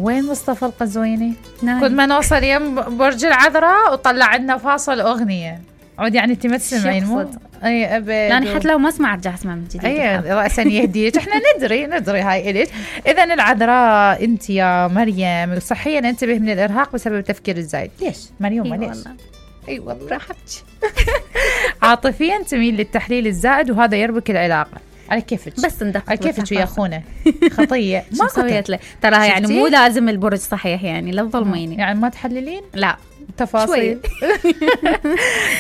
وين مصطفى القزويني؟ كل ما نوصل يم برج العذراء وطلع عندنا فاصل أغنية عود، يعني انت ما تسمعين مو؟ اي ابد، يعني حتى لو ما اسمع ارجع اسمع من جديد. اي راسا يهديك. احنا ندري هاي الك. اذا العذراء انت يا مريم صحيا انتبه من الارهاق بسبب التفكير الزايد. ليش مريم؟ ليش؟ اي والله راحتك. عاطفيا تميل للتحليل الزائد وهذا يربك العلاقه. على كيفك بس ندق على كيفك يا اخونا. خطيه ما سويت له ترى، يعني مو لازم البرج صحيح، يعني لا تظلميني. يعني ما تحللين؟ لا تفاصيل.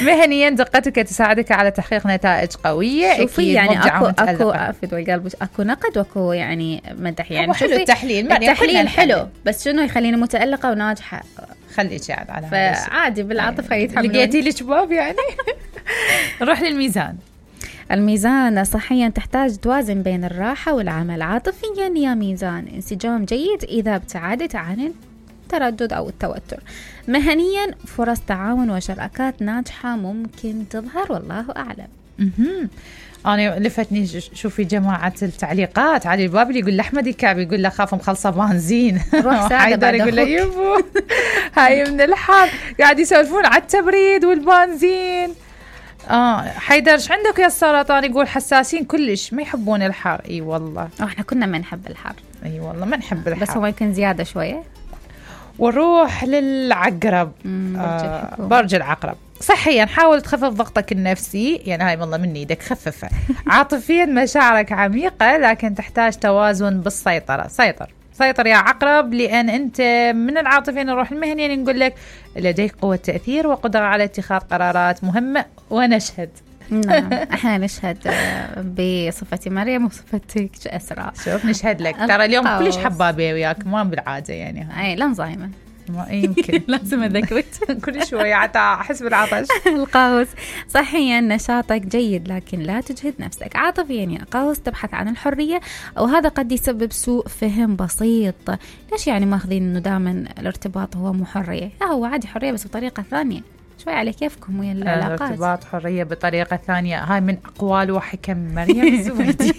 مهنيا دقتك تساعدك على تحقيق نتائج قويه. شوفي يعني اكو عفد والقلب، اكو نقد واكو يعني مدح. يعني حلو التحليل حلو، بس شنو يخليني متألقه وناجحه؟ خليك يعني على فعادي بالعاطفه يتحملون. لقيتي لي شباب يعني. نروح للميزان. الميزان صحيا تحتاج توازن بين الراحة والعمل. عاطفيا يا ميزان انسجام جيد إذا ابتعدت عن التردد أو التوتر. مهنيا فرص تعاون وشراكات ناجحة ممكن تظهر، والله أعلم. أنا لفتني شوفي جماعة التعليقات علي الباب يقول لأحمد الكعبي يقول له خاف مخلصة بنزين. حيدر يقول له يبو هاي من الحر قاعد يسولفون على التبريد والبنزين. حيدر ايش عندك يا السرطان؟ يقول حساسين كلش ما يحبون الحر. اي والله احنا كنا ما نحب الحر. اي والله ما نحب الحر، بس هو يمكن زيادة شوية. ونروح للعقرب. برج العقرب. صحيا حاول تخفف ضغطك النفسي، يعني هاي والله من ايدك خففها. عاطفيا مشاعرك عميقة لكن تحتاج توازن بالسيطرة. سيطر يا عقرب، لأن أنت من العاطفيين. نروح المهني يعني نقول لك لديك قوة تأثير وقدرة على اتخاذ قرارات مهمة ونشهد. نعم احنا نشهد بصفتي مريم وصفتك أسراء. شوف نشهد لك ترى اليوم كلش حبابة وياك ما بالعادة يعني. اي لا نزايمة يمكن لازم أذكرك كل شوية أحس بالعطش. القوس صحيا نشاطك جيد لكن لا تجهد نفسك. عاطفيا يا قوس تبحث عن الحرية، وهذا قد يسبب سوء فهم بسيط. ليش يعني ماخذين إنه دائما الارتباط هو مو حرية؟ لا هو عادي حرية بس بطريقة ثانية. شوي على كيفكم ويا العلاقات. الارتباط حرية بطريقة ثانية، هاي من أقوال وحكم مريم الزبيدي.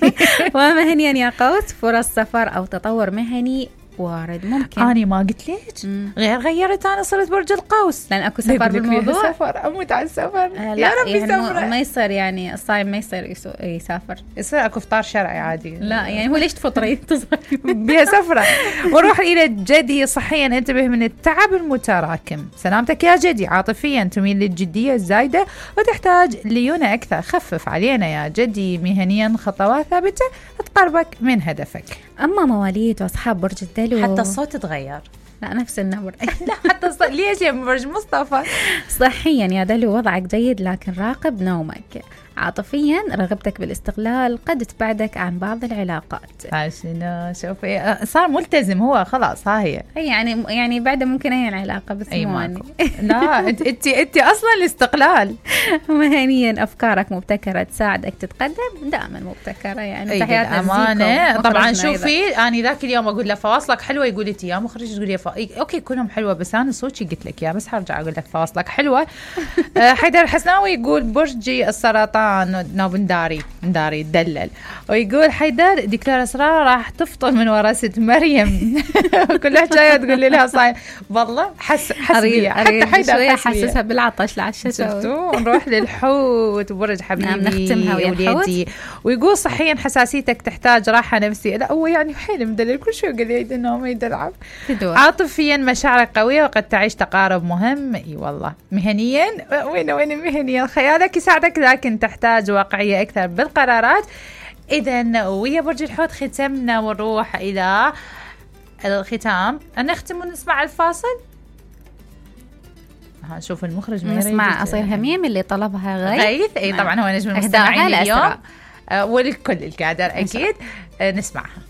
ومهنيا يا قوس فرص سفر أو تطور مهني وارد ممكن. أنا ما قلت ليش غيرت، أنا صرت برج القوس لأن أكو سفر بالموضوع. سفر أموت على السفر. يا ربي يعني ما يصير يعني الصايم ما يصير يسافر، يصير أكو فطار شرعي عادي. لا يعني هو ليش تفطري بها سفرة. ونروح إلى الجدي. صحيا انتبه من التعب المتراكم. سلامتك يا جدي. عاطفيا تميل للجدية الزايدة وتحتاج ليونة أكثر. خفف علينا يا جدي. مهنيا خطوات ثابتة تقربك من هدفك. أما مواليد وأصحاب برج الدلو حتى الصوت تغير. لا نفس النبر. لا حتى الصوت. ليش يا برج مصطفى؟ صحيا يا دلو وضعك جيد لكن راقب نومك. عاطفيا رغبتك بالاستقلال قد تبعدك عن بعض العلاقات. عشان شوفي صار ملتزم هو خلاص. ها هي يعني بعد ممكن هي العلاقة بس لا انت اصلا الاستقلال. مهنيا افكارك مبتكرة تساعدك تتقدم. دائما مبتكرة يعني تحياتنا امانه. طبعا شوفي انا ذاك اليوم اقول له فواصلك حلوه يقول لي يا مخرج تقول لي اوكي كلهم حلوه بس انا صوتي قلت لك يا بس هرجع اقول لك فواصلك حلوه. حيدر الحسناوي يقول برجي السرطان نوب نداري تدلل، ويقول حيدر دكتور اسرار راح تفطر من ورا ست مريم. كل حكايه تقول لي لها صاير والله حسبيه. حتى حيدر حسسها بالعطش العشاء. نروح للحوت وبرج حبيبي. نختمها ويا الحوت. ويقول صحيا حساسيتك تحتاج راحه نفسية. لا هو يعني حيل مدلل كل شوي يقول لي انه ما يدلعب. عاطفيا مشاعرك قويه وقد تعيش تقارب مهم. اي والله. مهنيا وين مهنيا خيالك يساعدك لكن تحتاج واقعيه اكثر بالقرارات. اذا ويا برج الحوت ختمنا ونروح الى الختام. نختم ونسمع الفاصل. شوف المخرج نسمع أصيل هميم اللي طلبها غيث. اي طبعا هو نجم المستمعين اليوم ولكل الكادر اكيد. نسمعها.